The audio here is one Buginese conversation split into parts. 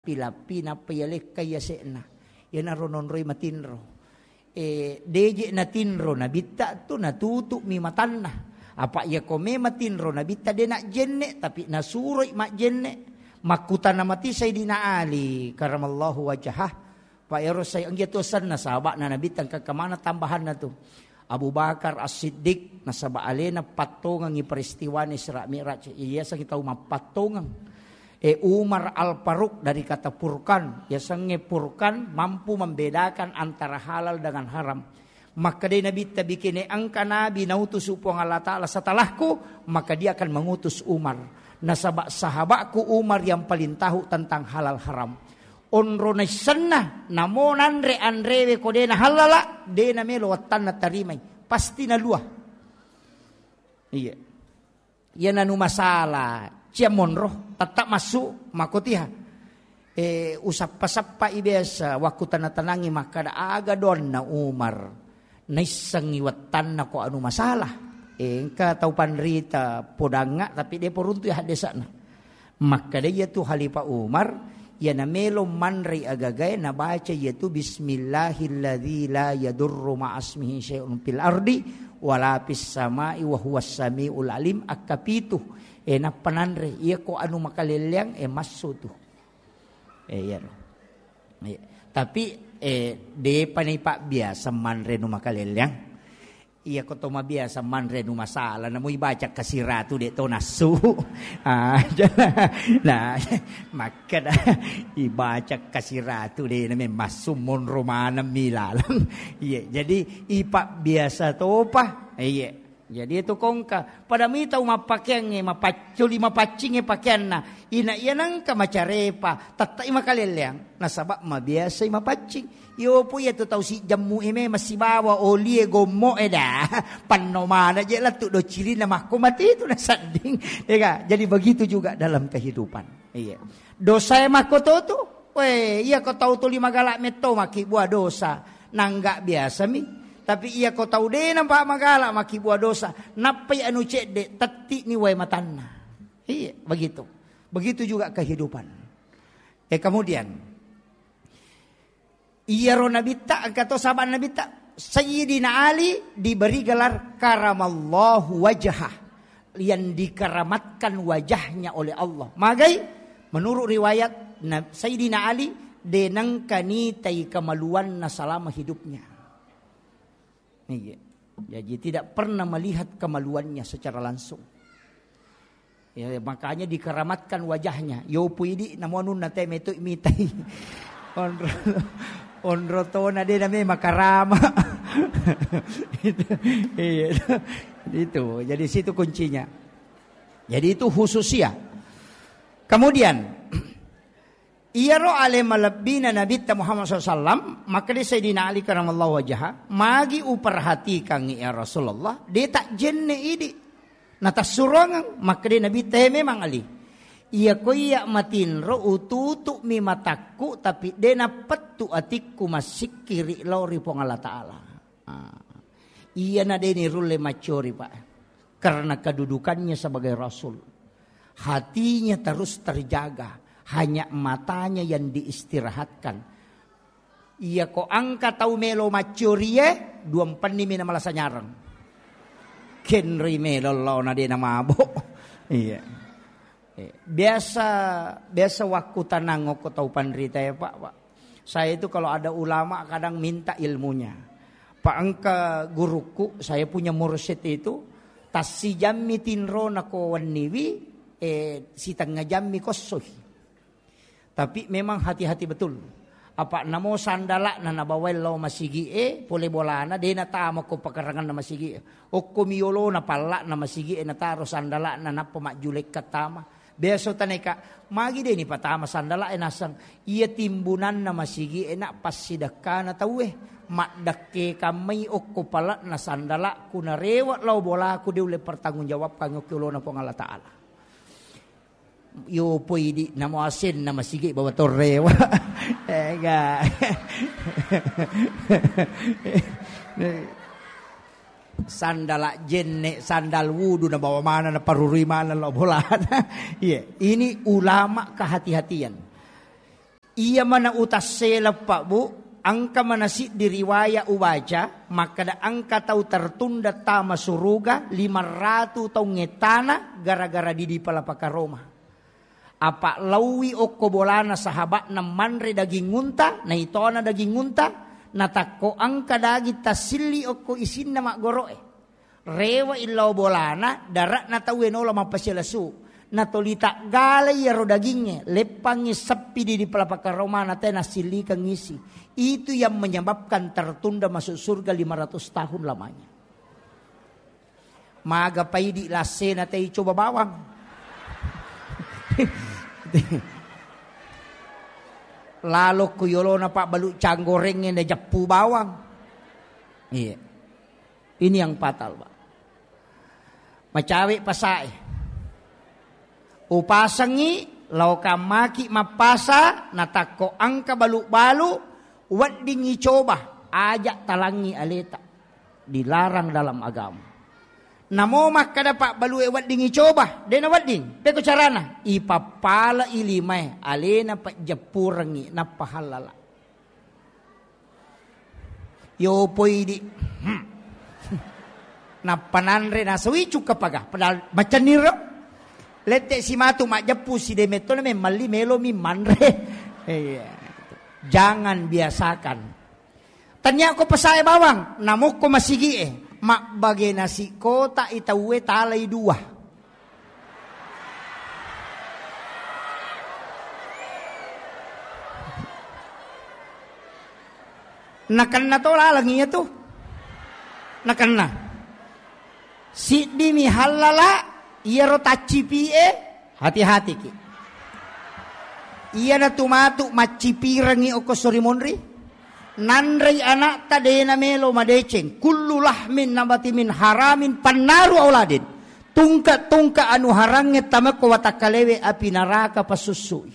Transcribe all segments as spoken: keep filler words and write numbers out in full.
Lappi-lappi nappa yalekkai yase'na. Iyanaro nonroi matinro. E, deje natinro nabitta tu natutu'mi matanna. Apa iyako me matinro nabitta de najjenne, tapi nasuroi majjenne. Makkutana mati Sayyidina Ali karamallahu wajhah. Pa ero sai enggi tu asenna sahaba'na nabitta engka kemana tambahanna tu. Abu Bakar As-Siddiq, nasaba alena pattongengngi peristiwana Isra Mi'raj, iyasengngi tau mappattongeng. E, Umar Al-Faruq, dari kata furqan, yasengnge furqan, mampu membedakan antara halal dengan haram. Makkedai Nabitta, bikene engka nabi nautusu Puang Allah Ta'ala setelahku, maka dia akan mengutus Umar. Nasaba sahabatku Umar yang paling tahu tentang halal haram. Onro naissenna, namo nanre anrewe ko de nahallala, de namelo wattanna tarimai. Pasti nalua. Iya. Iya nanu masalah, cia monro, tetap masuk, makotiha. E, usappa-sappai biasa, waktu tanah-tanangi makkada aga donna Umar. Naissengngi wattanna ko anu masalah. E, engka tau panrita podangnga, tapi de poruntu ya haddesana. Makkeda iyatu Khalifah Umar, iyana melo manrei agagae nabaca iyatu, "Bismillahilladzi la yadurru ma'asmihi syai'un fil ardi wala fis sama'i wa huwas samiul alim," akkapitu. E, nappa nanre, iyako anu makalelleang, e, massu tu. E, iyaro. Iya. Tapi, e, depa ni pabbiasa manre nu makalelleang. Iya, ko to mabiasa manre nu masalah, namo ibaca kasiratu de to nassu. Ah, nah, makkeda ibaca kasiratu de name massu monro maneng mi laleng. Iya, jadi ipa biasa topa. Iya. Jadi itu kongka. Pada mi tau mappakeangnge, mapacculi, mapaccingnge pakeanna. Ina iya nengka macarepa, tettai makalelleang. Nasaba mabiasai mapaccing. Iyopo iyatu tau sijjemmu e memang sibawa oli e gommo e da. Panno mana je lettu do cirina makko mati itu nasedding. Ya ga? Jadi begitu juga dalam kehidupan. Iya. Dosa e makko to tu. We, iya ko tau tuli magala metto makkibua dosa. Nangga biasa mi. Tapi iya ko tau de nampa magala makkibua dosa. Nappai anu cedde, tetti ni wae matanna. Iya, begitu. Begitu juga kehidupan. Eh, kemudian, iyaro nabitta, engka to sahabat nabitta, Sayyidina Ali diberi gelar karamallahu wajhah, yang dikeramatkan wajahnya oleh Allah. Magai, menurut riwayat, na-, Sayyidina Ali denengka nitai kemaluanna selama hidupnya. Iya. Jadi tidak pernah melihat kemaluannya secara langsung. Ya, makanya dikeramatkan wajahnya. Yopu idi namo anunna te metu mitai. Onro, onro tona de name makarama. Itu, iya. Itu. Jadi situ kuncinya. Jadi itu khususia. Kemudian, iyaro ale malebbina Nabitta Muhammad sallallahu alaihi wasallam, makkeda Sayyidina Ali karamallahu wajhah, "Magi uperhatikangngi ya Rasulullah, de tajjenne idi." Natassurongeng, makkeda Nabitta, "He memang Ali. Iya ko iya matinro ututu'mi matakku, tapi de napettu atikku massikkiri lao ri Puang Allah Ta'ala." Ah. Iyana de nirulle maccori, Pak. Karena kedudukannya sebagai rasul. Hatinya terus terjaga, hanya matanya yang diistirahatkan. Iya ko engka tau melo maccorie, dua mpenni mi na malasa nyareng. Kenri melo laona de na mabo. Iya. Eh, biasa, biasa wakku tanang ko tau panrita ya, Pak, Pak. Saya itu kalau ada ulama kadang minta ilmunya. Pak, engka guruku, saya punya mursyid itu, tassijammi tinrona ko wenniwi, eh, sitengnga jammi kossoi. Tapi memang hati-hati betul. Apa namo sandala'na nabawai lao masigi e, pole bolana, de natama ko pakaranganna masigi e. Okko miolona palla'na masigi e, nataro sandala'na, nappa majjulekka tama. Biasa taneka, magi de nipatama sandala e naseng. Iya timbunanna masigi e na passidekkana tauwe. Maddekke kammai okko pala'na sandala'ku narewe lao bolaku de ulle pertanggung jawabkan okko olona Puang Allah Ta'ala. Yo poi di namo asenna masigi bawa torrewa. Ega. Sandala jenne, sandal wudu nabawa mana, naparurui mana lao bolana. Iya, ini ulama kehati-hatian. Iya mana utassela, Pak, Bu, engka mana siddi riwaya ubaca, makkada engka tau tertunda tama suruga lima ratu taung ettana gara-gara didi palapaka roma. Apa laui okko bolana sahaba'na manre daging unta, naitona daging unta, natakko engka daging tassilli okko isinna maggoro'e. Rewe illao bolana, dara'na tauwe nola mappasilesu. Natoli taggalai iyaro dagingnge, leppangngi seppi di, di palapaka romana te nassillikeng isi. Itu yang menyebabkan tertunda masuk surga lima ratus tahun lamanya. Maga paidi lassena tei coba bawang. Lalo ku yolona pabbalu canggorengnge na jeppu bawang. Iya. Ini yang fatal, Pak. Macawe pasae. Upasengi, laokang maki mappasa, natakko engka balu-balu, weddingngi coba, aja talangngi aleta. Dilarang dalam agama. Namo makkada pabbalue weddingngi coba, dena wedding. Peko carana, ipappala ilimae, alena pejeppurengngi, nappa hallala. Yo poi di. Hmm. Nappa nanre nasawi cukka paga. Padahal macenniro. Lette simatu majeppu si demetto na memmalli melomi manre. Iya. Jangan biasakan. Tania ko pasae bawang, namokko masigie. Mabbage nasi kota itauwe talai dua. Nakenna to laleng iya tu. Nakenna. Siddimi hallala, iyaro taccipi'e, hati-hatiki. Iyana tu matu maccipirengngi okko sori monri. Nanrei anakta dena melo madeceng. Kullu lahmin nabati min haramin pannaru auladin. Tungka-tungka anu harangnge tamekko watakkalewe api naraka pasussui.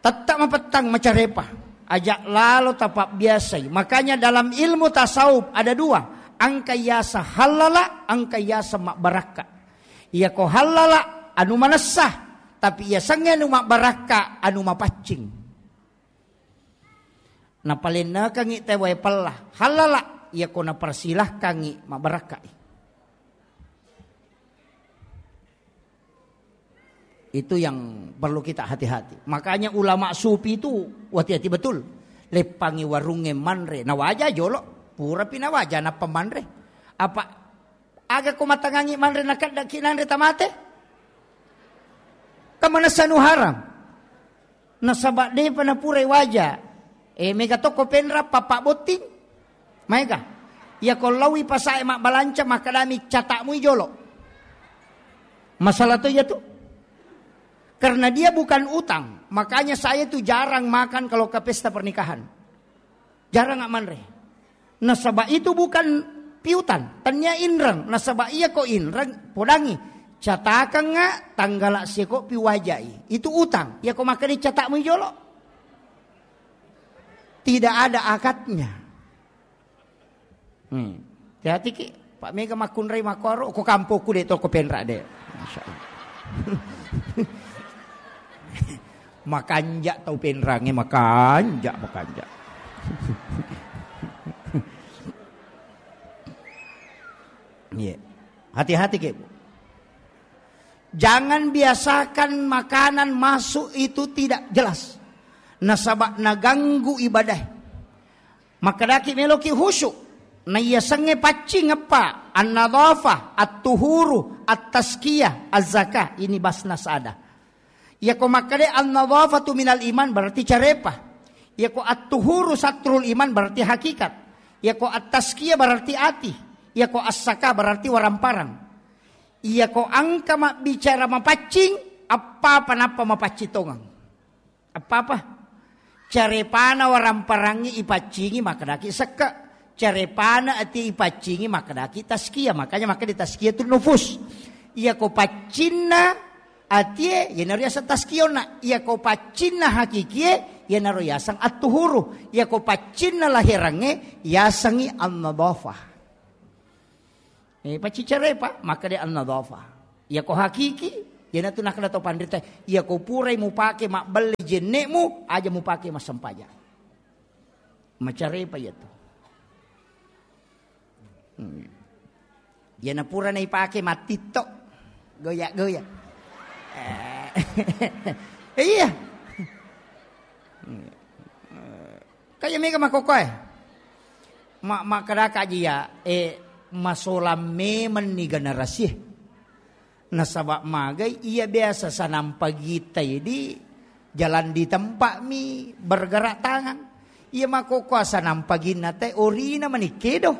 Tetta mapettang macarepa. Ajak lalo tapabbiasai. Makanya dalam ilmu tasawuf ada dua. Engka yasa hallala, engka yasa mabbarakka. Iyako hallala anu manessa, tapi yasengnge anu mabbarakka anu mapaccing. Napalennekangngi tauwe pella, hallala, iyako napersilahkangngi mabbarakkai. Itu yang perlu kita hati-hati. Makanya ulama sufi itu hati-hati betul. Leppangi warungnge manre, nawaja jolo, purapi nawaja nappa manre. Apa Aga ko matangangi manre nakeddaki nanre tamate? Kan manessa anu haram. Nasaba depa napurai waja. Eh, mega tokko penra papa botting. Maega. Iya ko laui pasae mabbalanca makkedami catakmui jolo. Masalah to iya tu. Karena dia bukan utang, makanya saya tu jarang makan kalau ke pesta pernikahan. Jarang manre. Nasaba itu bukan piutang, tania inreng. Nasaba iya ko inreng, podangi. Catakengnga tanggala seko piwajai. Itu utang. Iya ko makkeda catakmu jolo. Tidak ada akadnya. Hmm. Hati-hati ki, Pak Mega makkunrai makkoro, ko kampokku de toko penra de. Masya Allah. Makanja tau penrange, makanja, makanja. Iya. Hati-hati ki, Bu. Jangan biasakan makanan masuk itu tidak jelas. Nasaba naganggu ibadah. Makkedaki meloki khusyuk. Naiyasengnge paccing eppa, an-nadhafah, at-tuhuru, at-tazkiyah, az-zakah. Ini basnas ada. Iyako makkeda an-nadhafatu minal iman berarti carepa. Iyako at-tuhuru satrul iman berarti hakikat. Iyako at-tazkiyah berarti ati. Iyako as-zakah berarti waramparang. Iyako engka mabbicara mapaccing, appapa nappa mapaccing tongeng. Apa-apa? Carepana waramparangngi ipaccingi makkedaki sekke. Carepana ati ipaccingi makkedaki tazkiyah. Makanya makkeda tazkiyatun nufus. Iyako paccinna atie, iyanaro yaseng tazkiyonna. Iyako paccinna hakikie, iyanaro yaseng at-tuhuru. Iyako paccinna laherangnge, yasengngi an-nadhafah. Eh, paccicarepa, makkeda an-nadhafah. Iyako hakiki, Iyanatu nakkeda to panrita, iya ko purai mupake mabbelle jenne'mu, aja mupake massempajang. Macarepa iyatu. Hmm. Iyana pura naipake mattitto, goya-goya. Eh, iya. Kaya mega makkokkoe. Ma-, makkedaka aja iya, eh, masolang memenni generasi. Nasaba magai iya biasa sanampa gita idi jalan di tempat mi bergerak tangan. Iya makkokkoe sanampa ginna te orina mani kedo.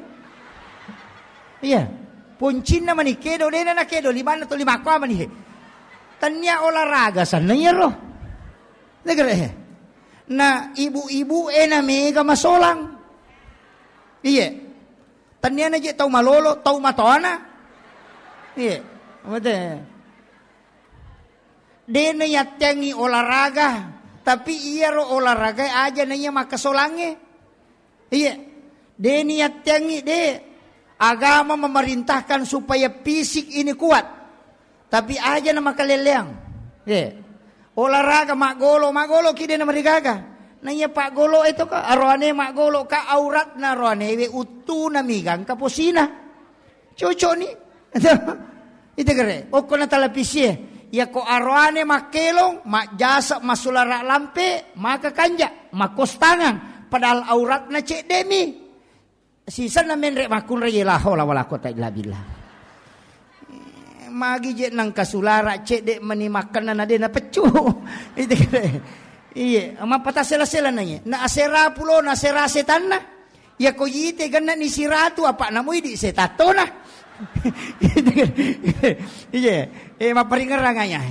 Iya. Poncinna mani kedo, dena na kedo, limanna to lima kua mani he. Tania olahraga sanna iyaro. Negere he. Na ibu-ibu e na mega masolang. Iya. Tania na je tau malolo, tau matoana. Iya. Mate. De na yatteangngi olahraga, tapi iyaro olahraga aja na iya makkasolangnge. Iya. De ni yatteangngi, de. Agama memerintahkan supaya fisik ini kuat. Tapi aja na makaleleang. Iya. Olahraga maggolo, maggolo ki de na marigaga. Na iya paggolo itu ka aroane maggolo ka auratna aroane we uttuna mi gangka posina. Cocok ni. Itu kere. Okko na televisie. Ya ko aroane makkelong, majjasa masulara lampe, maka kanja, makostangang. Padahal auratna cedde mi. Sisenna menre makkunrai, la haula wala quwata illa billah. Eh, magi je nangka sulara cedde meni makkenna na de na peccu. Itu kere. Iye, mappatasela-sela na iye. Na asera pulo, na asera setanna. Iya ko yite genna ni siratu apa namo idi setattona. Iya, eh, mapparingerrang ayah.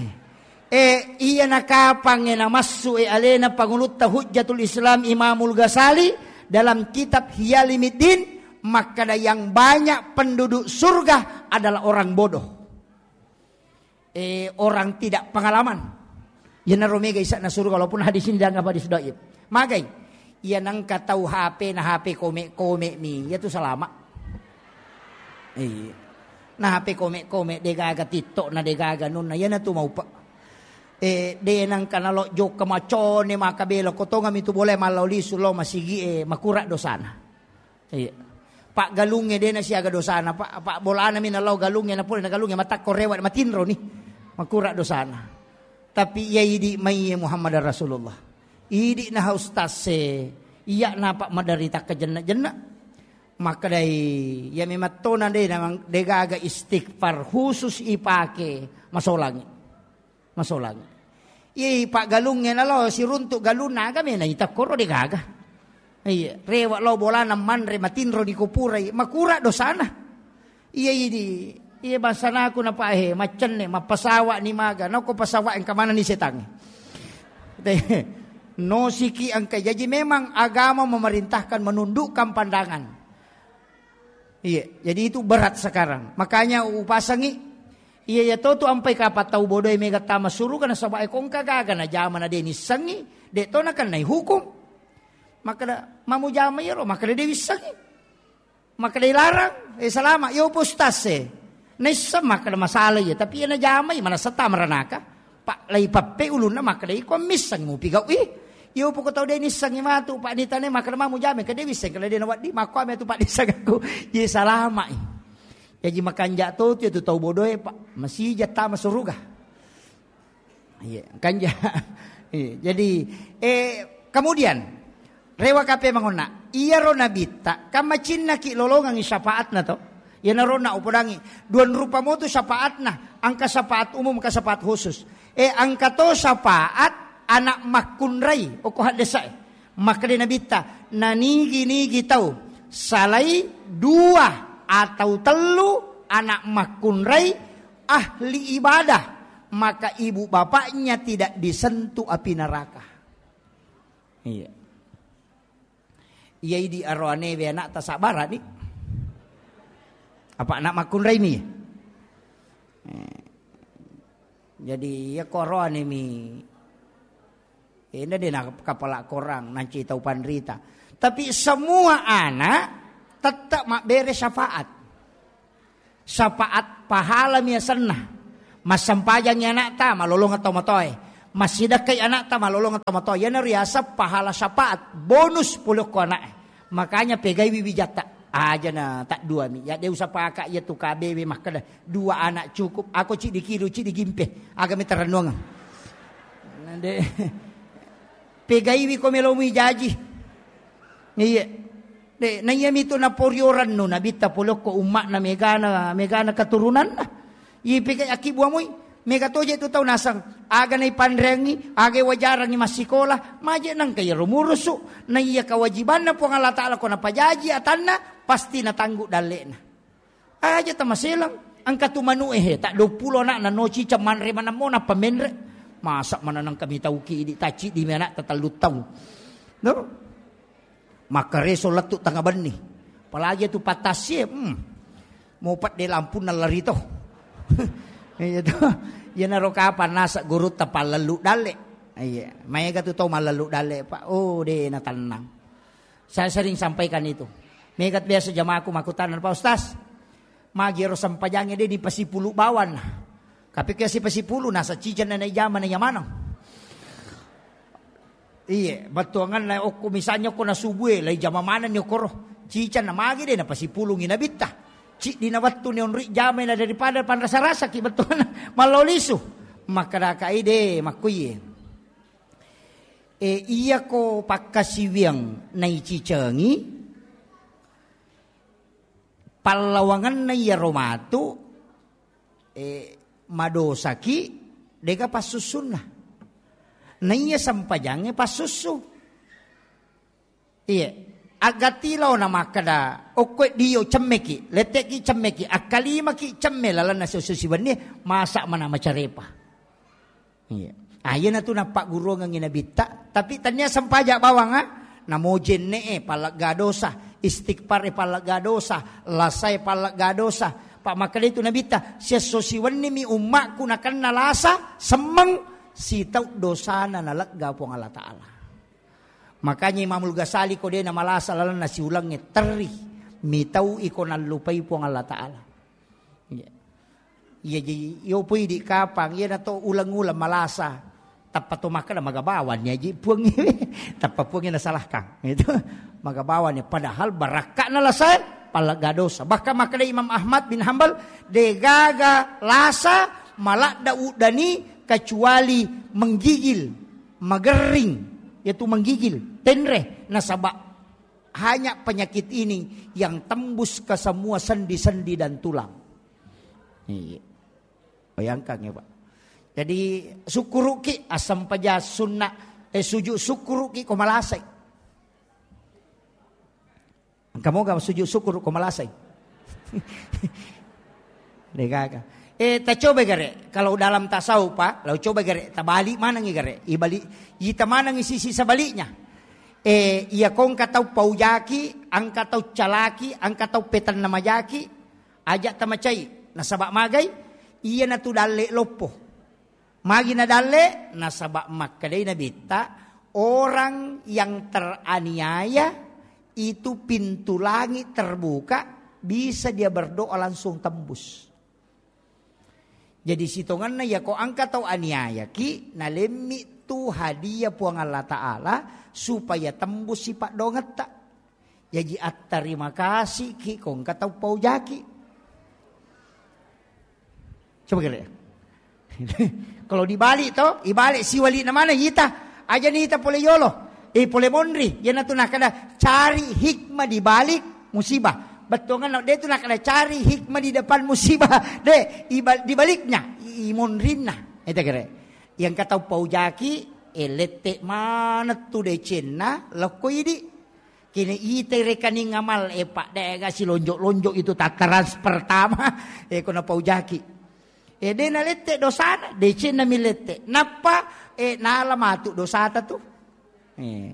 Eh, iya nakapang e namassu e alena pangulutta Hujjatul Islam Imamul Ghazali dalam kitab Hiyalimiddin makkeda yang banyak penduduk surga adalah orang bodoh. Eh, orang tidak pengalaman. Yenaro mega isa'na suruga, walaupun hadis ini dianggap hadis dhaif. Magai? Iya nangka tau H P na H P kome-kome mi, iya tu salama. Iya. Na H P kome-kome, degaga TikTok na degaga nunna, iyana tu maupa. Eh, de nangka nalo jokka macone maka belo, kotongami tu boleh mallau lisu lo masigi e, makura dosana. Iya. Paggalungnge de nasiaga dosana, pa, pa bolana mi nalao galungnge, napole na galungnge matakko rewa matinro ni. Makura dosana. Tapi iya idi mai Muhammad Rasulullah. Idi na ustaz se, iya napa maderita kejenna-jenna. Makkedai, iya memattona de namang degaga istighfar khusus ipake masolangi. Masolang. Iye, paggalungnge nalo siruntu galunna aga mena ita koro degaga. Iya, rewa lao bolana manre matinro di kupurai, makura dosana. Iya idi, iya basanaku napahe, maccenne, mappasawa ni maga, nako pasawa engka mana ni setangnge. Nosiki engka, jadi memang agama memerintahkan menundukkan pandangan. Iya, jadi itu berat sekarang. Makanya upasangi, iya, iya to tu ampai kapang tau bodoe mega tama suruga nasaba e kongka gaga na jama na de nissengi, de to nakennai hukum. Makkeda, mamu jama iyaro, makkeda de wissengi. Makkeda ilarang, eh, salama, yo postas e. Naisseng makkeda masalah iya, tapi iya najamai manassa tama ranaka. Pak lai pappe ulunna makkeda iko misseng mupi gau i. Iyo poko tau de nissengi matu, Pak, nitane makkeda mamu jame ke de wisseng kala de nawaddi, makko ame tu Pak disseng aku. Ye salama i. Jaji makanja to tu, tu tau bodoe, Pak. Masija tama suruga. Iya, kanja. Iya, jadi, eh, kemudian, rewa kape mangonna, iyaro nabitta, kan macinnaki lolongangi syafaatna to. Iyanaro na upodangi, duan rupa motu syafaatna, angka syafaat umum, angka syafaat khusus. Eh, angka to syafaat anak makkunrai, okko haddesa e. Makkeda nabitta, nanigi-nigi tau, salai dua atau tellu anak makkunrai, ahli ibadah, maka ibu bapaknya tidak disentuh api neraka. Iya. Iya idi aroane we anak tasabara ni. Apa anak makkunrai mi? Eh. Jadi iya ko aroane mi. Enda de na kapala korang, nanci tau panrita. Tapi semua anak tetap mabbere syafaat. Syafaat pahala miasenna. Massempajangngi ana'ta, malolongeng tomatoae. Massidekkai ana'ta, malolongeng tomatoae. Iyana riaseng pahala syafaat, bonus pole okko ana'e. Makanya pegaiwi wijatta. Aja na tadduami. Ya de usapaka iya tu K B W makkeda, dua anak cukup. Ako ciddi kilu, ciddi gimpe. Aga metarennuangeng. Nande. Pegaiwi ko melomui jaji. Iya. De, na iya mitu naporiorang nu nabitta pole okko umma'na megana, megana keturunanna. Iye pega akkibuamui, mega toje tu tau naseng, aga naipanreangngi, aga wajarangngi massikola, maje nangka iyaro murusu, na iya kewajibanna Puang Allah Ta'ala ko napajaji atanna, pasti natanggu dalle'na. Aja tamaselang, engka tu manu'e he, tak dua puluh ana'na no ciceng manre manammo nappa menre. Masa mana nangka mitauki idi tacci di anak tatellu taung. No? Makkareso lettu tengnga benni. Apalagi tu patassie, hmm. Mau pedde lampunna lari to. Iya to. Iyanaro kapan nasa gurutta pallellu dalle. Iya, maega tu tau mallellu dalle, Pak. Oh, de na tenang. Saya sering sampaikan itu. Mega biasa jamaahku makkutana, "Pak Ustaz, magi ero sempajangnge de dipasipulu bawanna?" Tapi ke sipasipulu nasa ciceng na ijama na yamanang. Iye, bettuanganna okko misalnya okko nasubue, lai jama manenni okkoro. Ciceng na magi de napasipulungi nabitta. Ciddi na wettu ni onri jamai na daripada panrasa-rasaki bettuanna. Mallau lisu. Makkadaka ide makkuiye. E, iyako pakkasiwiang naicicengi, pallawangenna iyaro matu, e, madosaki, dega passussunna. Naiya sempajangnge passussu. Iye, aggatti laona makkeda, okkoe dio cemmeki, lette'ki cemmeki, akkalimaki cemme lalenna siesso siwennie, masa mana macarepa. Iya. Ah, iyanatu nappagguruangengngi nabitta, tapi tania sempaja bawang, ah. Namo jenne'e pallegga dosa, istighfar e pallegga dosa, lasae pallegga dosa. Pa makkeda itu nabitta, siesso siwennimi ummakku nakenna lasa, semmeng, sitau dosana nalegga Puang Allah Ta'ala. Makanya Imamul Ghazali ko de namalasa lalenna siulengnge terri, mitau iko nallupai Puang Allah Ta'ala. Iya. Iya, jadi yo pui di kapang, iya nato uleng-uleng malasa. Tappa to makkeda magabawan ya ji puang. Tappa puang na salahkan. Itu magabawan ya, padahal barakka'na lasae pallegga dosa. Bahkan makkeda Imam Ahmad bin Hambal, degaga lasa maladda uddani kecuali menggigil, magering, yaitu menggigil, tenre, nasaba hanya penyakit ini yang tembus ke semua sendi-sendi dan tulang. Iya. Bayangkan ya, Pak. Jadi, sukkuruki asam pejas sunnah, eh, sujud sukkuruki ko malasai. Engka moga sujud syukur ko malasai. Degaga. Eh, tacoba gare. Kalau dalam tasawuf, Pak, lau coba gare, tabalik manengi gare. Ibalik, ita manengi sisi sebaliknya. Eh, iya kongka tau paujaki, angka tau calaki, angka tau petanna majaki, aja tamacai. Nasaba magai, iya natu dalle loppo. Magi nadalle? Nasaba makkedai Nabitta, orang yang teraniaya itu pintu langit terbuka, bisa dia berdoa langsung tembus. Jadi sitongenna yako angka tau aniayaki, nalemmi tu hadiah Puang Allah Ta'ala supaya tembus sipa dongetta. Jaji attarima kasiki ko engka tau paujaki. Coba kira. Kalau dibalik to, ibalik siwali na mana ita. Aja ni ita pole yolo. Eh, pole monri. Yana tu nakada cari hikmah di balik musibah. Bettuanna de tu nakada cari hikmah di depan musibah. De, ibal-, di baliknya, i monrinna. Eta kira. Yang kata paujaki, eh, lette mana tu decenna, lokko idi. Kini itai rekening amal, eh, Pak, dega silonjok-lonjok itu tataran pertama, eh, ko napaujaki. Eh, de nalette dosana, decenna milette. Nappa, eh, nala matu dosata tu. Eh.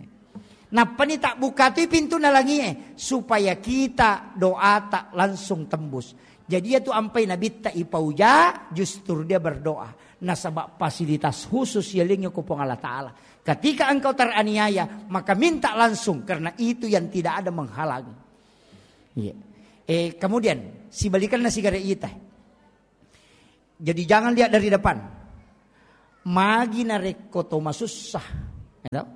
Nappani tak buka tu pintu nalangi, eh, supaya kita doa tak langsung tembus. Jadi ya tu ampai nabitta ipauja, justru dia berdoa. Nasaba fasilitas khusus yalengi ko Puang Allah Ta'ala. Ketika engkau teraniaya, maka minta langsung, karena itu yang tidak ada menghalangi. Iya. Eh, kemudian, sibalikanna sigare ita. Jadi jangan lihat dari depan. Magi narekko to masussa, ya toh?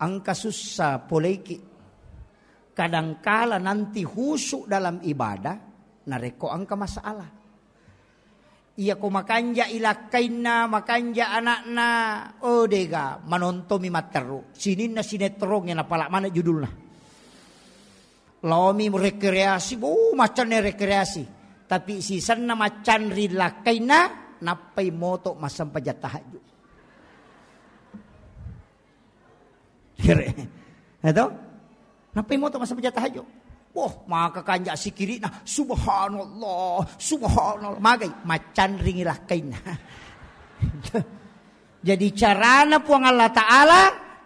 Engka sussa poleiki. Kadangkala nanti khusyuk dalam ibadah, narekko engka masalah. Iya ko makanja ilakkainna, makanja anakna, oh dega, manontomi matteru. Sininna sinetron e napala mana judulna. Laomi rekreasi, bu, maccanne rekreasi. Tapi sisenna maccanri lakkainna, nappai moto massempajang tahajud. Kere. Ya toh? Nappai moto massempajang tahajud. Wah, maka kanja sikirina, subhanallah, subhanallah. Magai, maccanringi lakkainna. Jadi carana Puang Allah Ta'ala,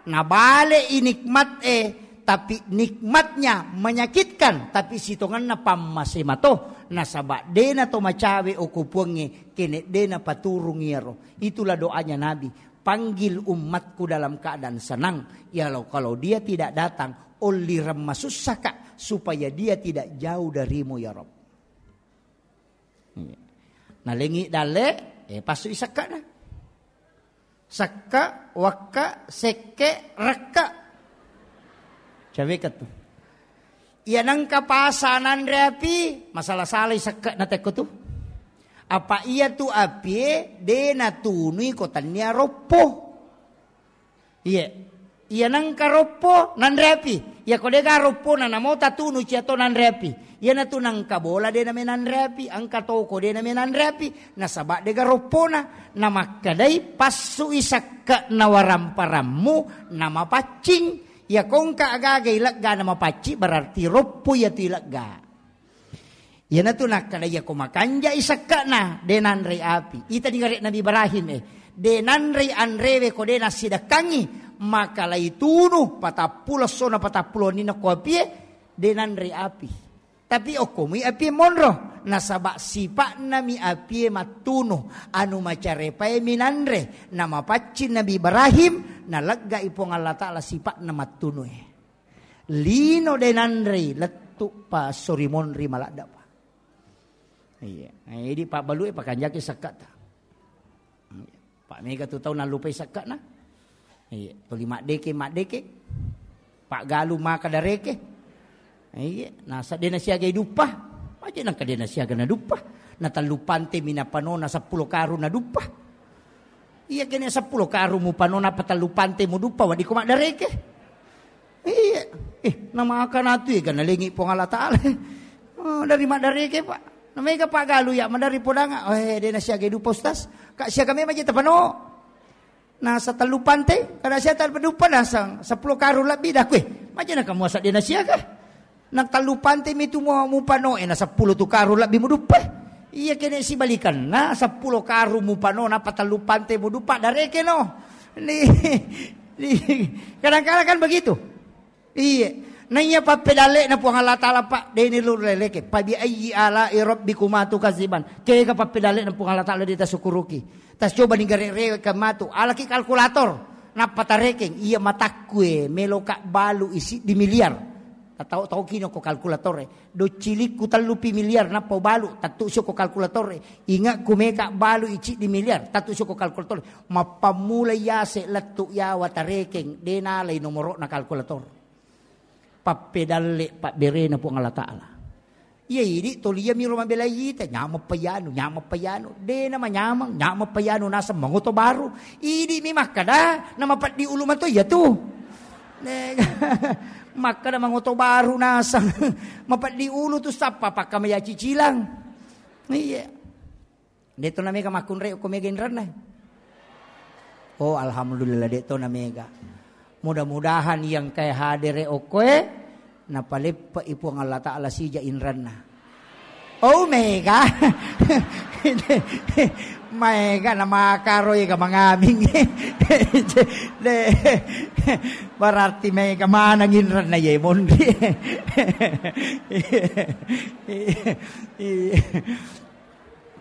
nabale i nikmat e, tapi nikmatnya menyakitkan, tapi sitongenna pammase mato, nasaba dena to macawe oko Puangnge, kene dena paturung iyaro. Itulah doanya Nabi, panggil umatku dalam keadaan senang. Ya lo, kalau dia tidak datang, ollireng masussaka, supaya dia tidak jauh darimu ya Rabb. Iya. Nalengi dalle, eh, passu i sekkana. Sekka, wakka, sekke, rekka. Caweka tu. Iya nengka pasa nanre api, masalah-salai sekka na tekko tu. Apa iya tu apie, de natunui ko tania roppo. Iya. Iya nengka roppo nanre api. Iya ko dega roppo na namo tatunu cia to nanre api. Iya natu nengka bola de name nanre api, engka toko de name nanre api, nasaba dega roppona. Namakkadai passui sakka na waramparammu namapaccing. Iya kongka agaga ilegga namapaccing berarti roppo iya tu ilegga. Iyanatu nakkeda, iyako makanjai sekke'na, de nanrei api. Itani gare Nabi Ibrahim, eh, de nanrei anrewe ko de nassidekkangngi, maka laitunu patappulo essona patappulo wenninna ko apie, de nanrei api. Tapi okkomui apie monro, nasaba sipa'nami apie mattunu, anu macarepaemi nanre, namapaccing Nabi Ibrahim, naleggai Puang Allah Ta'ala sipa'na mattunue. Lino de nanrei, lettu pa esso ri monri maladda pa. Iya. Eh, idi pabbalue pakanjaki sakkata. Pak mega tu tau nallupai sakkana. Iya. Toli maddeke, maddeke. Pak galu maka dareke. Iya. Nasa de nasiagai duppa. Aja nangka de nasiaga na duppa. Na tellu pante mi napanona seppulo karung na duppa. Iya kene seppulo karung mupano napa tellu pante muduppa, wadiko maddareke. Iya. Eh, namakana tu ega nalengi Puang Allah Ta'ala. Oh, dari maddareke, Pak. Namega Pak galu ya, madari podanga. Oh, eh, de nasiaga duppa, Ustaz. Kak siaga memang je tapano. Nasa tellu pante, kada sia tellu duppa nasang seppulo karung lebbi dakue. Maja na kamu asa de nasiaga. Nang tellu pante mi tu mu, mupano, eh, na seppulo tu karung lebbi muduppa. Iya kene sibalikan. Na seppulo karung mupano, napa tellu pante muduppa, dareke no. Ni, ni, kadang-kadang kan begitu. Iya. Na iya pappedalle na Puang Allah Ta'ala, Pak, deni lu leleke. Fa bi ayyi ala'i rabbikuma tukadziban. Kega pappedalle na Puang Allah Ta'ala de tasukuruki. Tas coba ni gare-, rewekang matu. Alaki kalkulator. Nappa tarekeng, iya matakkue, meloka balu i siddi miliar. Tau-, tau kino ko kalkulatore. Docilikku tellupi miliar, nappa balu, tattu sio ko kalkulatore. Ingatku meka balu i siddi miliar, tattu sio ko kalkulatore. Mappammula yase lettu yawa tarekeng, de nalai nomoro'na kalkulator. Pappedalle pabberena Puang Allah Ta'ala. Iya idi toli iya miro mabelai ita, nyameng payanu, nyameng payanu. De nama nyameng, nyameng payanu naseng mangoto baru. Idi mi makkada, nama peddi ulu mato iya tu. Ne, makkada mangoto baru naseng. Mapeddi ulu tu sappa pakka maya cicilang. Iya. De'to na mega makkunrai okko mega inranna. Oh, alhamdulillah, de'to na mega. Mudah-mudahan yang kae hadere okkoe, napaleppe'i Puang Allah Ta'ala sija inranna. Oh, mega. Maega na makaro ega mangaming. De, berarti mega manang inranna ye monri. Iya.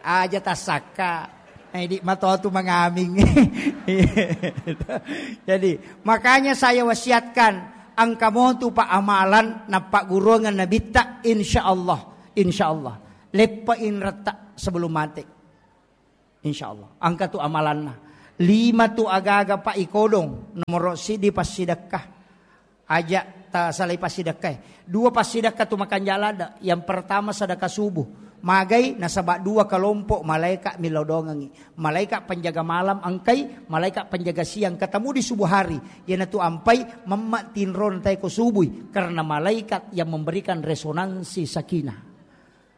Aja tassakka. Eh, di matoa tu mangaming. Jadi, makanya saya wasiatkan, engka motu pa amalan nappagguruangan nabitta, insya Allah, insya Allah. Leppa inretta sebelum mate. Insyaallah. Engka tu amalanna. Lima tu aga-aga pa ikodong. Nomoro siddi passidekka. Aja' tasalai passidekkae. Dua passidekka tu makanja' ladde'. Yang pertama sedekah subuh. Magai nasaba' dua kelompok malaika' millau doangengngi. Malaika' penjaga malam engkai, malaika' penjaga siang ketemu di subuh hari. Iyanatu ampai mamma' tinro natae ko subui karena malaikat yang memberikan resonansi sakinah.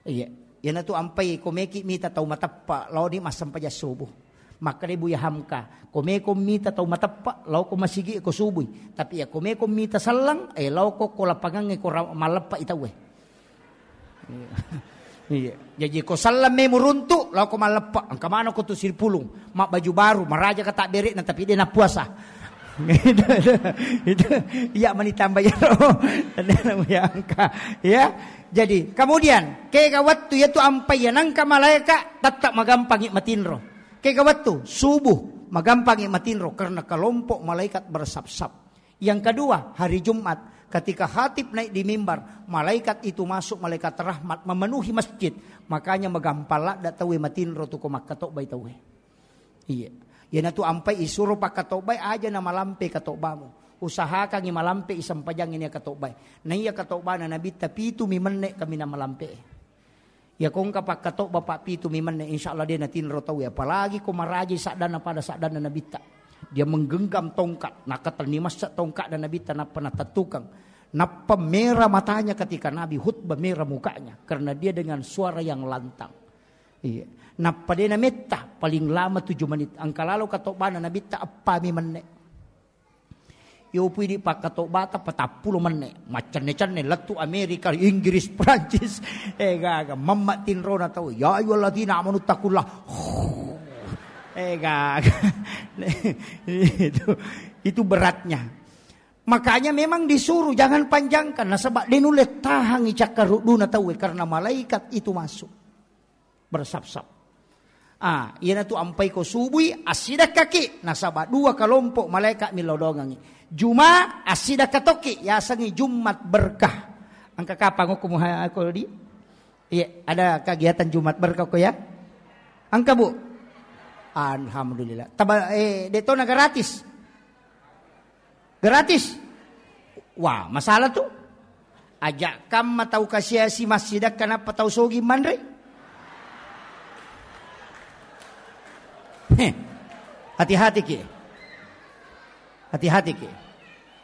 Iya. Iyanatu ampai ko meki mita tau mateppa laoni massempajang subuh. Makkeda Buya Hamka, ko meko mita tau mateppa lao ko masigi ko subui. Tapi iya ko meko mita selleng, eh, lao ko, ko lapangangnge ko ra-, malleppa i tauwe. Iya. Iya. Jaji ko selleng memu runtu lao ko malleppa. Engka maneng ko tu Sipulung, mabbaju baru, maraja ka tabbere'na tapi de' nappuasa. Itu, itu, itu. Iya mani tambah iyaro. Tenang Buya Hamka. Ya. Jadi, kemudian, kega wettu iyatu ampai iya nengka malaika, tetap magampangi matinro. Kega wettu subuh, magampangi matinro karena kelompok malaikat bersap-sap. Yang kedua, hari Jumat, ketika khatib naik di mimbar, malaikat itu masuk, malaikat rahmat memenuhi masjid. Makanya magampang ladde' tauwe matinro tu ko makkatobbai tauwe. Iya. Iyanatu ampai isuro pakkatobbai aja' na malampe katobbamu. Usahakangngi malampe i sempajangngi nia katobbai. Na iya katobbana Nabitta pitu mi menne' kaminang malampe. Iya ko engka pakkatobba pa pitu mi menne', insyaallah de' natinro tauwe. Apalagi ko maraji saddanna pada saddanna Nabitta. Dia menggenggam tongkat, nakatenni massa tongkatna Nabitta nappa natettukeng. Nappa merah matanya ketika Nabi khutbah, merah mukanya karena dia dengan suara yang lantang. Iya. Nappa de' nametta, paling lama tujuh menit. Engka lalo katobbana Nabitta eppa mi menne'. Yopu idi' pakkatobbata patappulo menne'. Maccenne-cenne lettu Amerika, Inggris, Prancis. Eh, gaga. Mamma' tinrona tau. Ya ayyuhalladzina amanu taqullaha. Eh, gaga. Itu, itu beratnya. Makanya memang disuruh jangan panjangkan. Nasaba' de' nulle tahangngi cakkarudduna tauwe karena malaikat itu masuk. Bersap-sap. Ah, iyanatu ampai ko subui, assidekkaki, nasaba' dua kelompok malaika' millau doangengngi. Juma, assidekka tokki, yasengngi Jumat berkah. Engka kapang okko muha-, ko di? Iya, ada kegiatan Jumat berkah ko ya? Engka, Bu? Alhamdulillah. Taba-, eh, de' tona gratis. Gratis. Wah, masalah tu. Aja' kamma tau kasiasi massidekka nappa tau sogi manre. Heh. Hati-hati ki. Hati-hati ki.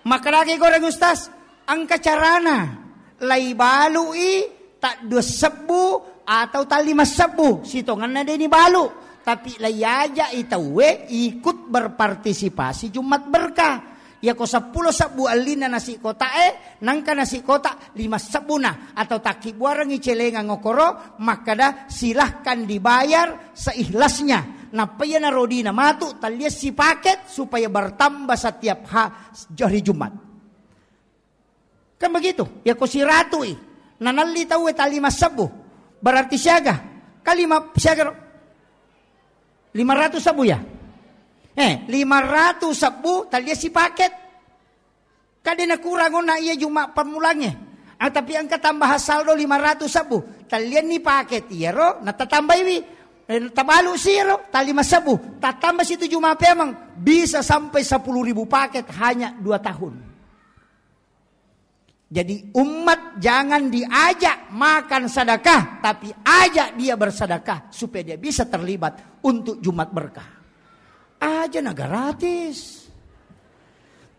Makkedaki goreng Ustaz, engka carana. Laibalui taddua sebbu atau tallima sebbu, sitongenna de' nibalu. Tapi laiaja'i tauwe ikut berpartisipasi Jumat Berkah. Yako seppulo sebbu ellinna nasi kotae, nangka nasi kota lima sebbuna atau takkibbuarengngi celengang okoro, makkeda, "Silahkan dibayar seikhlasnya." Nappa iyana rodina matu, tallia sipaket supaya bertambah setiap ha-, hari Jumat. Kan begitu? Yako siratui, nanalli tauwe tallima sebbu, berarti siaga. Kalima siaga ro? Lima ratus sebbu ya? Eh, lima ratus sebbu tallia sipaket. Kade nakurang ona iya Juma' pammulangnge. Ah, tapi engka tambahan saldo lima ratus sebbu. Tallianni paket iyaro, natatambaiwi. Eh, tabalu si iyaro, tallima sebbu. Tatamba situ Juma' peameng. Bisa sampai sepuluh ribu paket hanya dua tahun. Jadi umat jangan diajak makan sedekah, tapi ajak dia bersedekah supaya dia bisa terlibat untuk Jumat Berkah. Aja na gratis.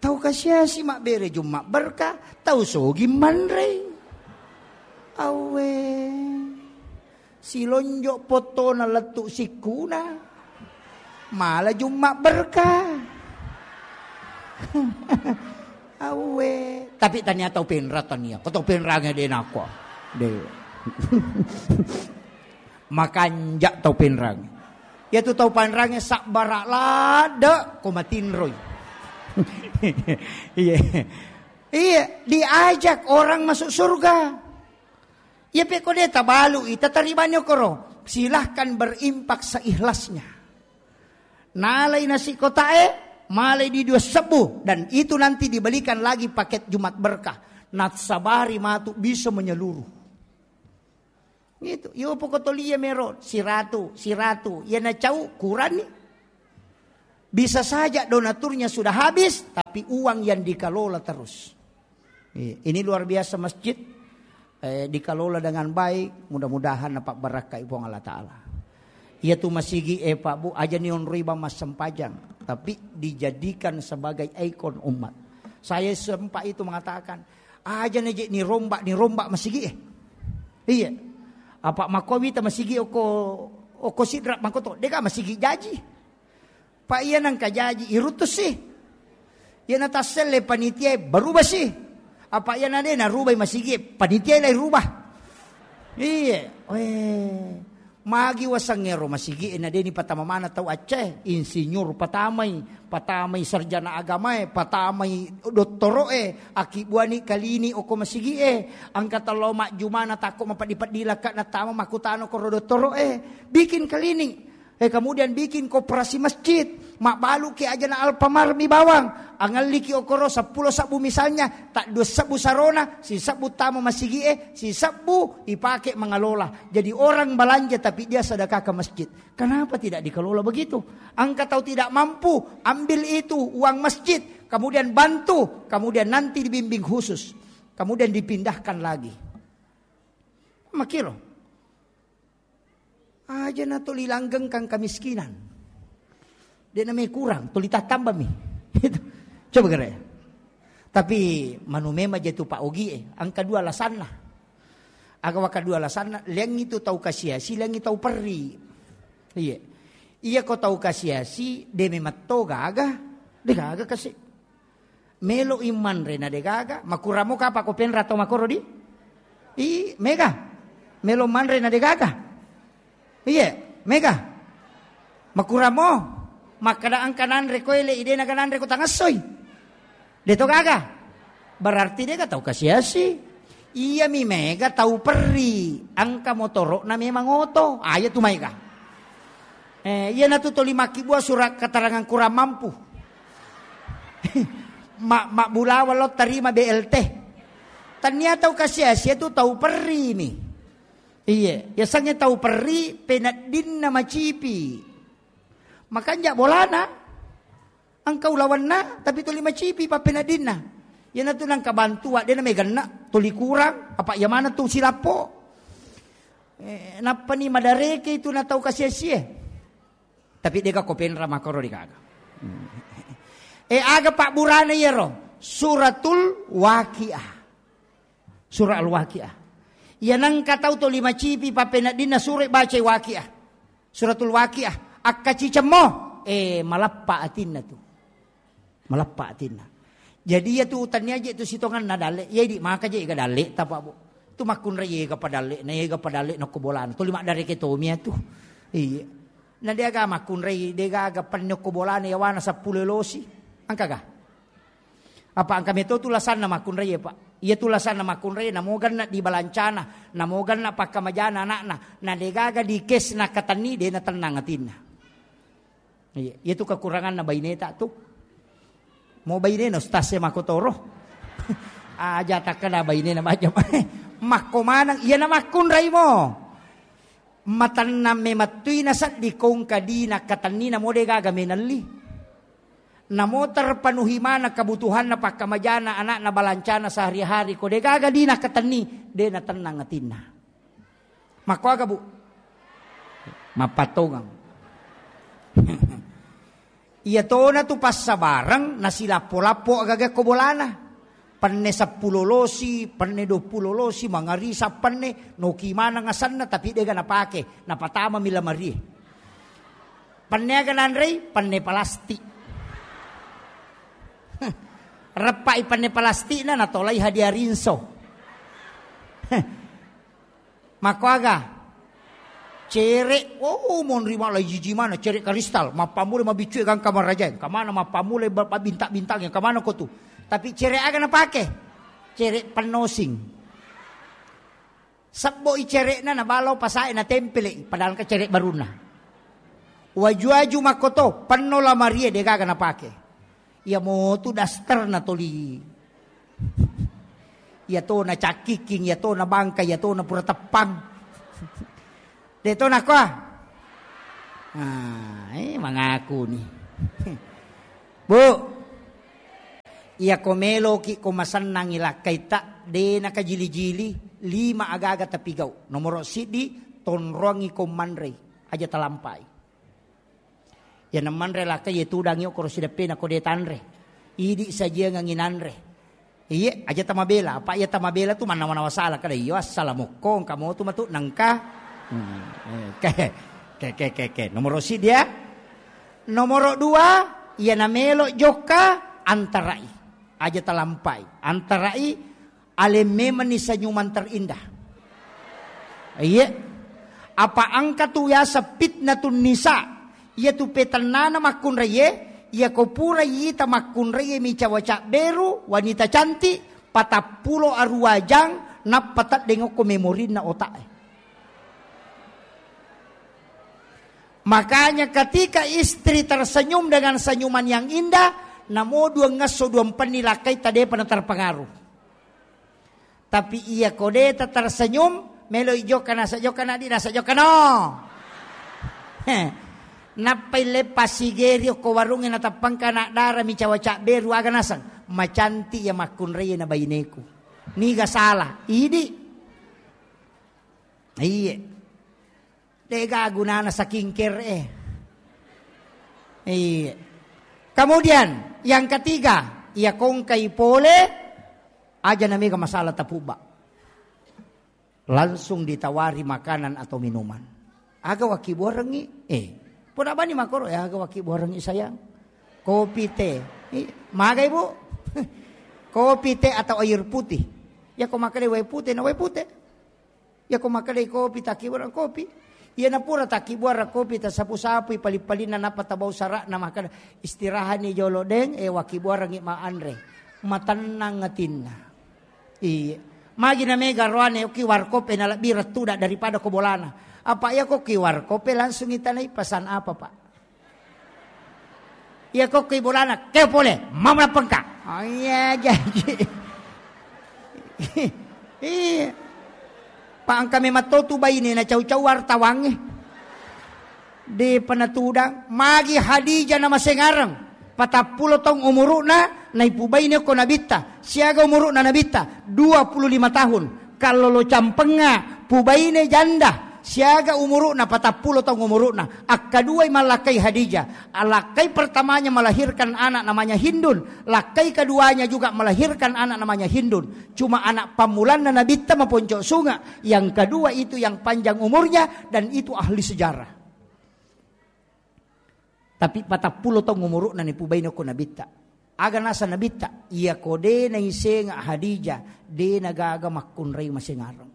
Tau kasiasi mabbere Jumat Berkah, tau sogi manrei. Awe. Silonjo' pottona lettu sikkuna. Mala Jumma' berkah. Awe. Tapi tania tau penra tania. Ko tau penrange de' nako. De'. Makanja' tau penrange. Iya tu tau penrange sabbara' ladde' ko matinroi. Iya. Iya, diajak orang masuk surga. Iya pe ko de' tabalu'i, tataribani okoro. Silahkan berimpak seikhlasnya. Nalai nasi kotae, malai di dua sebbu, dan itu nanti dibelikan lagi paket Jumat Berkah. Nassabari matu bisa menyeluruh. Itu, yo pokok tolia mero, siratu, siratu. Ya nacau, kurani. Bisa saja donaturnya sudah habis, tapi uang yang dikelola terus. Iya, ini luar biasa masjid. Eh, dikelola dengan baik, mudah-mudahan dapat berkah Puang Allah Ta'ala. Iya tu masigi, eh, Pak Bu, aja ni onroi bang massempajang, tapi dijadikan sebagai ikon umat. Saya sempat itu mengatakan, aja ni je ni rombak, ni rombak masigi, eh. Iya. Apa makowi ta masigi oko, oko sidra makoto, deka masigi jaji. Pak iya nangka jaji, irutus sih. Iya natasselle panitia, berubah sih. Apa iya nade narubai masigi, panitia lai rubah. Iya, weh. Magi wasengngero masigi, na deni patama mana tau acce, insinyur patamai, patamai sarjana agamae, patamai dottoroe, aki buani kalini oko masigi e, angka tello majjumana takko mapeddi-peddi lakka natama makutano koro dottoroe, bikin kalini. Eh, kemudian bikin koperasi masjid, mabbaluki ajana Alfamart mi bawang, angelliki okoro seppulo sebbu misalnya, tak dua sebbu sarona, si sebbu tama masigi e, si sebbu ipake mangalola. Jadi orang belanja tapi dia sedekah ke masjid. Kenapa tidak dikelola begitu? Angka tau tidak mampu, ambil itu uang masjid, kemudian bantu, kemudian nanti dibimbing khusus, kemudian dipindahkan lagi. Makiro. Aja na tuli langgengkang kemiskinan. Dia namanya kurang, tuli tattambami. Itu. Coba kira ya. Tapi manu memang jatu Pak Ogi e, angka dua alasanna. Aga waka dua alasanna, liang itu tau kasiasi, liang itu tau perri. Iya. Iya ko tau kasiasi, de memetto gaga, de gaga kasi. Melo i manre na de gaga, makuramo kapa ko penra tau makoro di? I, mega. Melo manre na de gaga. Iye, mega. Makuramo, makkada angka nanre ko ele, ide naga nanre ko tangessoi. De to gaga. Berarti de ga tau kasiasi. Iya mi mega tau perri, angka motoro na memang oto. Aja tu maega. Eh, iya na tu toli makkibua surat keterangan kurang mampu. Ma, mabbulawa lo tarima B L T. Tania tau kasiasi tu tau perri mi. Iye, yasengnge tau perri peneddinna macipi. Makanja bolana engka ulawanna tapi tuli macipi pappeneddinna. Iyanatu nangka bantua de na meganna tuli kurang apa iya maneng tu silappo. Eh, nappani madareke itu na tau kasiasie. Tapi dega ko penra makoro degaga. Eh, aga pabburana iyaro? Suratul Waqiah. Surah Al-Waqiah. Iya nengka tau to lima cipi pappeneddinna sura bacai Waqiah. Suratul Waqiah. Akkacicemmo. Eh, maleppa atinna tu. Maleppa atinna. Jadi iya tu utannia je tu sitonganna dalle. Iya idi maka je ga dalle tapa bu. Tu makkunrai ega padalle, na ega padalle nokko bolana. Tuli maddareke tomia tu. Iya. Na deaga makkunrai, degaga penne okko bolana yawana seppulo elosi. Engkaga? Apa engka meto tu lasanna makkunrai, Pak? Iya tu lasanna makkunrai, namo ganna di balancana, namo ganna pakkamajana anakna, na degaga di kes na katenni, de na tennang atinna. Iya, iya tu kekuranganna baineta tu. Mo bainena ustaz e makotoro. Aja takkada bainena macam. Makko maneng, iya na makkunrai mo. Matennang memettui na seddi kongka di na katenni na mo degaga menelli. Namo terpenuhi mana kebutuhanna pakkamajana anakna balancana sehari-hari ko degaga di na katenni, de na tennang atinna. Makkoaga, Bu? Mappatongang. Iya tona tu passabareng nasilappo-lappo agaga ko bolana. Penne seppulo losi, penne duappulo losi, mangarisa penne, noki maneng asenna tapi dega napake, napatama mi lamarie. Penne aga nanrei, penne palastik. Reppai penne palastikna natolai hadiah rinso. Makkoaga? Cere, oh, monri mala jiji mana cere karistal, mappammula mabiccu e gangka marajae, kamana mappammula ba-, ba-, bintang-bintang, kamana ko tu? Tapi cere aga napake? Cere pennosing. Sebbo i cere'na nabalau pasae natempele, padahal ka cere barunna. Waju-waju makkoto, penno lamarie degaga napake. Iya motu daster na toli. Iya to na cakkiking, iya to na bangka, iya to na pura teppang. De' to nakua? Ah, eh, mangaku ni. Bu, iyako meloki ko masennangi lakkaita, de' nakajili-jili, lima aga-aga tapigau. Nomoro siddi, tonroangi ko manrei, aja talampai. Iya namanre lakkai, iya tudangi okkoro sideppena ko de' tanre. Idi sajiangengi nanre. Iye, aja tamabela. Apa iya tamabela tu mannawa-nawa sala kada, iyo, assalamualaikum, engka motu matu nengka. Hmm, eh, ke, ke, ke, ke, ke. Nomoro siddi ya. Nomoro dua, iya namelo jokka, antarai. Aja talampai. Antarai, aleng memenni senyuman terindah. Iye. Apa engka tu biasa fitnatun nisa. Iya tu petennana makkunraie, iya ko pura ita makkunraie micawa cabberu, wanita cantik, patappulo arua jang, nappa teddeng okko memorinna otak e. Makanya ketika istri tersenyum dengan senyuman yang indah, namo duang esso duang penni lakkaita depa na terpengaruh. Tapi iya ko de' ta tersenyum, melo i jokka nasa jokka na di nasa jokka no. Heh. Nappai leppa sigeri okko warungnge na tappangka anak dara micawa cabberu aga naseng. Macantik iya makkunrai na baineku. Niga salah? Idi. Iye. De'ga gunana skincare e. Iya. Kemudian yang ketiga, iya kongkai pole, aja namega masalah tapubba. Langsung ditawari makanan atau minuman. Aga wakkibuarengngi? Eh, pura bani makoro, eh, aga wakkibuarengngi sayang? Kopi, teh. Ih, magai, Bu? Kopi, teh, atau air putih? Ya, ko makkeda wae pute, na wae pute. Iya ko makkedai kopi, takkibuareng kopi. Iya napura takkibuareng kopi, tasapu-sapui pali-palinna, nappa tabau sara'na, makkeda, "Istirahani jolo, Deng, eh, wakkibuarengngi ma anre." Matennang atinna. Iya. Magi na mega roane, oki warkop e nalebbi rettuda daripada ko bolana. Apa iya ko ki warkop e langsung itanai, "Pesan apa, Pak?" Iya ko ki bolana, "Keo pole, mama pengka." Oh iya, jadi. Iya. Pak, engka memang to tu baine na cau-cau wartawangnge. De' pernah tudang, magi Hadijah na masengareng, patappulo taung umuru'na, naipubaine ko Nabitta. Siaga umuru'na Nabitta? Dua puluh lima tahun. Kallolo campengnga, pubaine janda, siaga umuru'na, patappulo taung umuru'na. Akkaduai mallakkai Hadijah. Allakkai pertamanya melahirkan anak namanya Hindun, lakkai keduanya juga melahirkan anak namanya Hindun. Cuma anak pammulanna Nabitta maponco sunga, yang kedua itu yang panjang umurnya dan itu ahli sejarah. Tapi patappulo taung umuru'na nipubaine ko Nabitta. Aga nasa Nabitta? Iya ko de' naisenga Hadijah, de' nagaga makkunrai masengareng.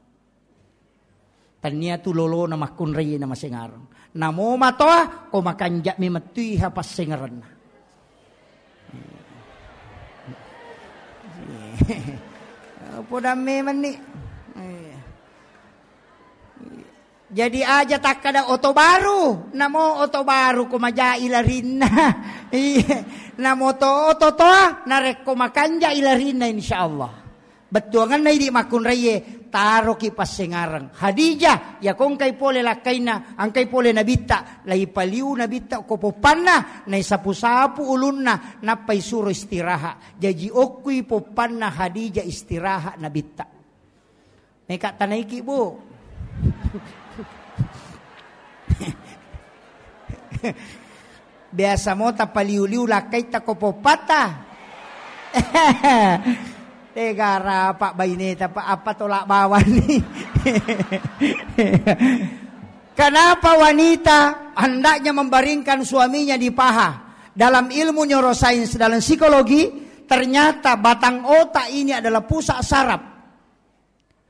Tania tu lolona makkunrai na masengareng. Namo matoa, ko makanja' memettui ha passengarenna. Podang memenni. Jadi aja takkada oto baru, namo oto baru ko majai larinna. Iya, namo to oto toa, narekko makanja ilarinna, insyaallah. Bettuanganna idi makkunraie, taroki passengareng. Hadijah, iya ko engkai pole lakkainna, engkai pole Nabitta, laipaliu Nabitta ko poppanna, naisapu-sapu ulunna, nappai suro istirahat. Jaji okkui poppanna Hadijah istirahat Nabitta. Meka tanaiki, Bu. Biasa mo tapaliu-liu lakkaitta ko poppatta. Tega rapa baineta, Pak, apa tolak bawang ni? Kenapa wanita hendaknya membaringkan suaminya di paha? Dalam ilmu neurosains, dalam psikologi, ternyata batang otak ini adalah pusat saraf.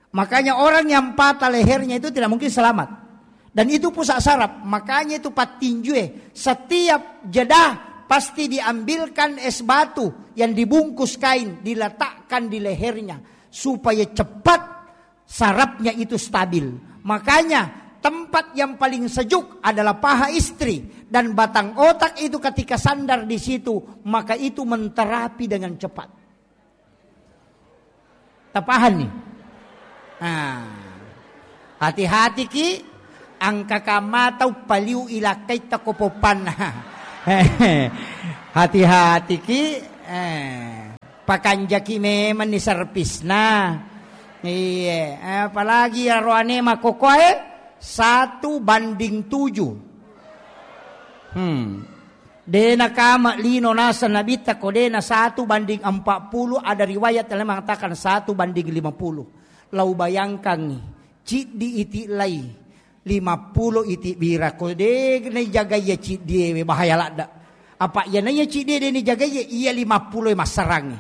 Makanya orang yang patah lehernya itu tidak mungkin selamat. Dan itu pusat saraf, makanya itu pattinjue. Setiap jeda pasti diambilkan es batu yang dibungkus kain, diletakkan di lehernya supaya cepat sarafnya itu stabil. Makanya tempat yang paling sejuk adalah paha istri dan batang otak itu ketika sandar di situ, maka itu menterapi dengan cepat. Tapahanni? Nah, hati-hati ki, Angka kamma tau paliu ilakkaitta ko poppanna. Hati-hatiki, eh, pakanjaki memenni servisna. Iye, eh, apalagi aroane makokoae satu banding tujuh. Hmm. De nakama lino naseng Nabitta ko de na satu banding empat puluh, ada riwayat yang mengatakan satu banding lima puluh. Lau bayangkangngi, ciddi iti lai lima puluh iti bira ko de naijagai iya ciddie we bahaya ladda. Apa iya naiya ciddie de naijagai iya lima puluh e massarangngi.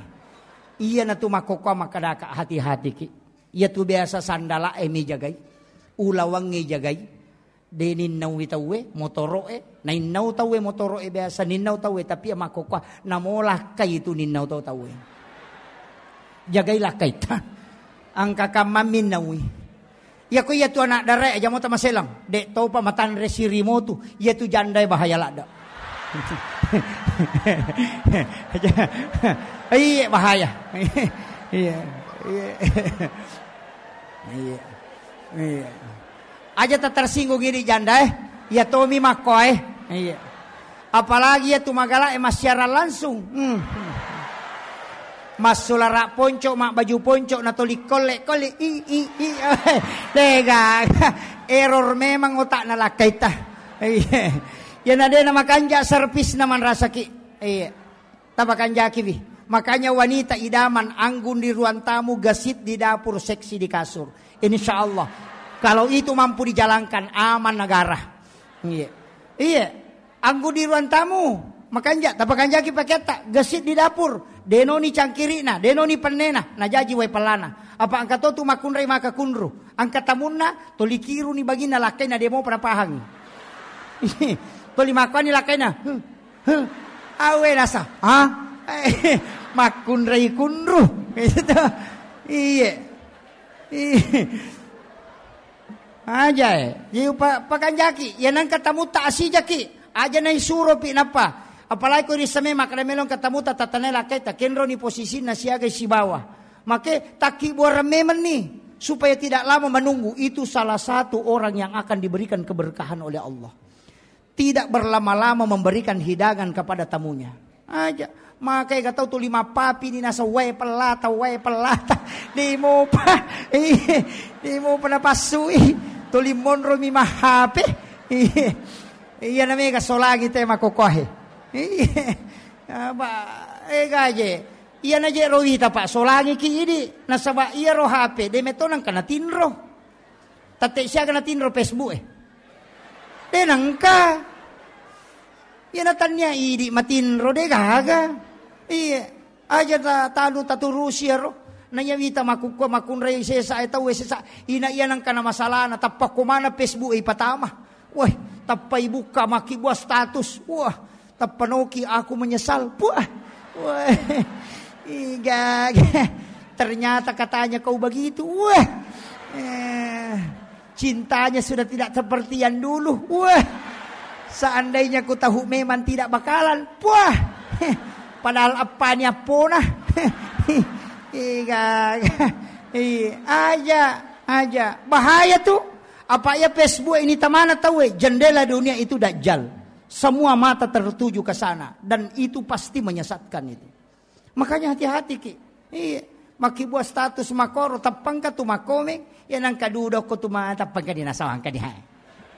Iya natu makkokkoa makkadaka hati-hatiki. Iya tu biasa sandala e mijagai, ulawangnge jagai. De ninnaui tauwe motoro'e, nainnau tauwe motoro'e biasa ninnau tauwe, tapi iya makkokkoa namolakkai itu ninnau tau tauwe. Jagai lakkaitta. Angka kamma minnaui. Iya ko iya tu anak darae aja mota maselang. De topa matanre sirimotu. Iya tu jandae bahaya ladda. Iya bahaya. Iya. Iya. Iya. Iya. Aja tak tersinggung ini janda eh. Ya tomi makko eh. Iya. Apalagi ya tu magala eh mas siaran langsung. Hmm. Massulara ponco, mak baju ponco, na toli kolle kolle. I i i. Lega. Error memang otak na lakkaita. Iya. Ya na de na makanja servis na manrasaki. Iya. Tapakanjakiwi. Makanya wanita idaman anggun di ruang tamu, gesit di dapur, seksi di kasur. Insya Allah. Kalau itu mampu dijalankan, aman negara. Iya. Iya. Anggun di ruang tamu. Makanja, tapakanjaki paketta, gesit di dapur. Denoni cangkirina, denoni pennena, najaji wai pellana. Apa angka to tu makunrai maka kunru. Angka tamunna, toli kiruni bagina lakkaina demo pada pahang. Toli makuani lakkaina. Huh. Huh. Awe nasa, ha? Makkunrai kunru. Gitu. Iye. Iye. Aja eh. Jadi pa-, pakanjaki. Ya nangka tamutta asijaki. Aja nai suropi nappa. Apalagi ko rissame makkeda melong katamutta tatanai lakkaita kenroni posisinna siaga sibawa. Make takki buarang memenni supaya tidak lama menunggu. Itu salah satu orang yang akan diberikan keberkahan oleh Allah. Tidak berlama-lama memberikan hidangan kepada tamunya. Aja. Makai gatau tuli mappapi ni nasa wae pellata, wae pellata. Di mopa. Iya. Di mopa napassui. Tuli monro mi mahape. Iya. Iya na mega solangi te makokohe. Iya. Apa, eh, gaje. Iya na je ro wita, Pak, solangi ki idi. Nasaba iya ro H P, de metto nangka natinro. Tette siaga natinro Facebook e. De nangka. Iya na tannia idi matinro de gaga. Iya. Aja ta-, tanu taturusi ero. Na iya wita makukku makunrai sesa e tau e sesa. Ina iya nangka na masalana tappa ko mana Facebook e ipatama. Wah, tappa ibukka makkibua status. Wah, tappa noki aku menyesal. Puah. Wah. Iga. Ternyata katanya kau begitu. Wah. Eh, cintanya sudah tidak seperti yang dulu. Wah. Seandainya ku tahu memang tidak bakalan. Puah. Padahal apa ni apona. Iga. Iya, aja, aja. Bahaya tuh. Apa ya Facebook ini tamana tahu eh? Jendela dunia itu dajjal. Semua mata tertuju ke sana dan itu pasti menyesatkan itu. Makanya hati-hati ki. Iya. Makkibua status makoro tappangka tu makkomeng, ya nangka dudokko tu ma tappangka di nasawangka di hai.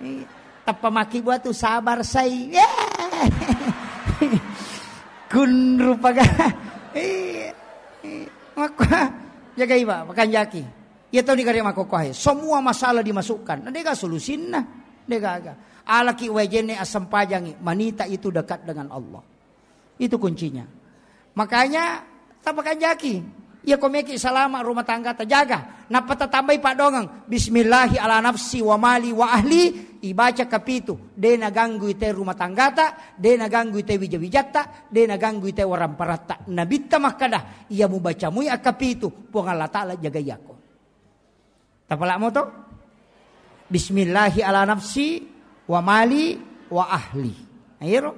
Iya. Tappa makkibua tu sabar sai. Ya. Kunru paga. Iya. Iya. Makko jagai ba makanjaki. Iya tau ni kare makko hai. Semua masalah dimasukkan. Nah, dega solusinna. Dega aga. Alaki wajene asam pajangi. Manita itu dekat dengan Allah. Itu kuncinya. Makanya, tapakanjaki. Iya komeki salama rumah tangga tajaga. Nappa tatambai paddongeng. Bismillahi ala nafsi wa mali wa ahli. Ibaca kapitu. De naganggui te rumah tanggata. De naganggui te wija-wijatta. De naganggui te waramparatta. Nabitta makkada. Iya mubaca mui akkapitu. Puang Allah Ta'ala jagai ako. Tapala'mo to? Bismillahi ala nafsi wa mali wa ahli. Nah, iyaro.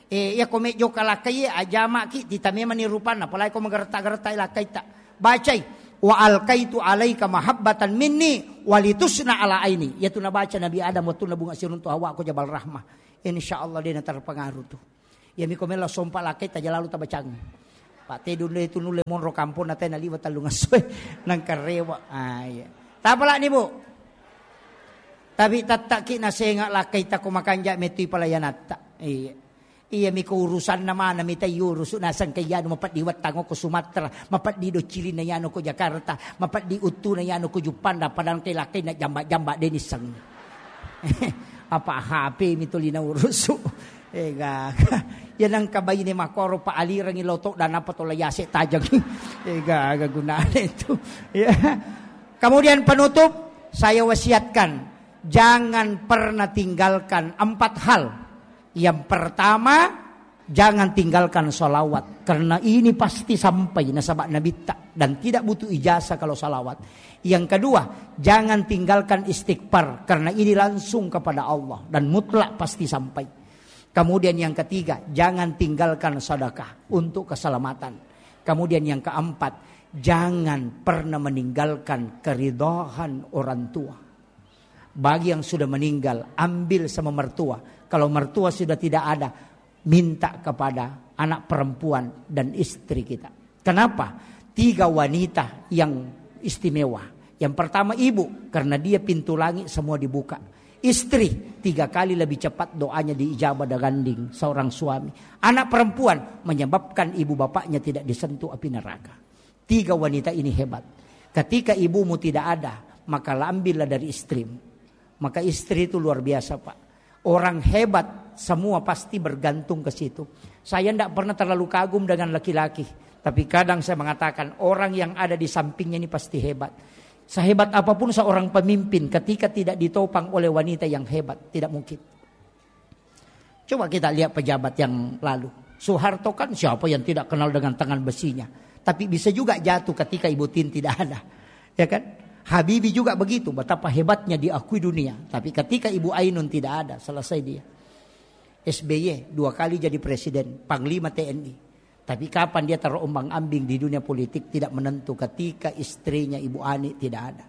Eh, iya ko mejjoka lakkai, ajamaki, tita memani rupanna, apalagi ko magaretta-garetta lakkaitta. Bacai. "Wa alqaitu alaika mahabbatan minni walitusna ala aini." Iyatu nabaca Nabi Adam wettunna bunga siruntu Hawa ko Jabal Rahmah. Insya Allah de' naterpengaruh tu. Iyami ko melo sompa lakkai taja lalu tabacang. Pak Tedun de' tu nulle monro kampong na tena liwa tellung essoe. Nangkarewa. Ah, iya. Tapalani, Bu. Tapi tattaki nasenga lakkai tako makanja metui palayanatta. Iya. Iyami ko urusanna mana mita iurusu naseng ke iyanu mapeddi wettang ko Sumatera, mapeddi doccilinna iyanu ko Jakarta, mapeddi uttuna iyanu ko Juppanda, padahal ke lakkai na jamba-jamba de' nisseng. Apa H P mi tuli naurusu. Ega. Ya nangka baine makoro pa alirangi loto dan apa tola yase tajang. Ega, aga gunane itu. Ya. Kemudian penutup, saya wasiatkan, jangan pernah tinggalkan empat hal. Yang pertama, jangan tinggalkan salawat, karena ini pasti sampai nasaba Nabitta dan tidak butuh ijazah kalau salawat. Yang kedua, jangan tinggalkan istighfar, karena ini langsung kepada Allah dan mutlak pasti sampai. Kemudian yang ketiga, jangan tinggalkan sedekah untuk keselamatan. Kemudian yang keempat, jangan pernah meninggalkan keridhaan orang tua. Bagi yang sudah meninggal, ambil sama mertua. Kalau mertua sudah tidak ada, minta kepada anak perempuan dan istri kita. Kenapa? Tiga wanita yang istimewa. Yang pertama ibu, karena dia pintu langit semua dibuka. Istri, tiga kali lebih cepat doanya diijabah dibanding seorang suami. Anak perempuan menyebabkan ibu bapaknya tidak disentuh api neraka. Tiga wanita ini hebat. Ketika ibumu tidak ada, maka ambillah dari istrimu. Maka istri itu luar biasa, Pak. Orang hebat semua pasti bergantung ke situ. Saya ndak pernah terlalu kagum dengan laki-laki, tapi kadang saya mengatakan orang yang ada di sampingnya ini pasti hebat. Sehebat apapun seorang pemimpin, ketika tidak ditopang oleh wanita yang hebat, tidak mungkin. Coba kita lihat pejabat yang lalu. Soeharto kan siapa yang tidak kenal dengan tangan besinya? Tapi bisa juga jatuh ketika Ibu Tin tidak ada. Ya kan? Habibie juga begitu, betapa hebatnya diakui dunia. Tapi ketika Ibu Ainun tidak ada, selesai dia. S B Y dua kali jadi presiden, panglima T N I. Tapi kapan dia terombang-ambing di dunia politik, tidak menentu ketika istrinya Ibu Ani tidak ada.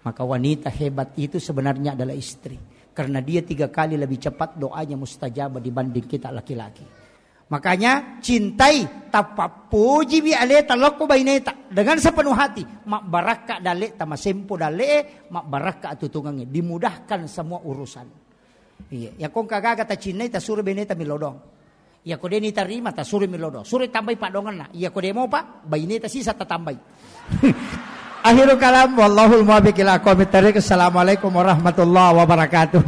Maka wanita hebat itu sebenarnya adalah istri. Karena dia tiga kali lebih cepat doanya mustajab dibanding kita laki-laki. Makanya cintai, tapappojiwi aleta lokko baineta dengan sepenuh hati. Mabbarakka daleta, masempo dale, mabbarakka atutungangnge, dimudahkan semua urusan. Iya, ya kong kagaga tacinnai tasuro baineta milodong. Iya ko de nitarima tasuro milodong. Suro tambai padonganna. Iya ko de mopa baineta sisa tatambai. Akhirul kalam, wallahul muwaffiq ila aqwamit thariq. Assalamualaikum warahmatullahi wabarakatuh.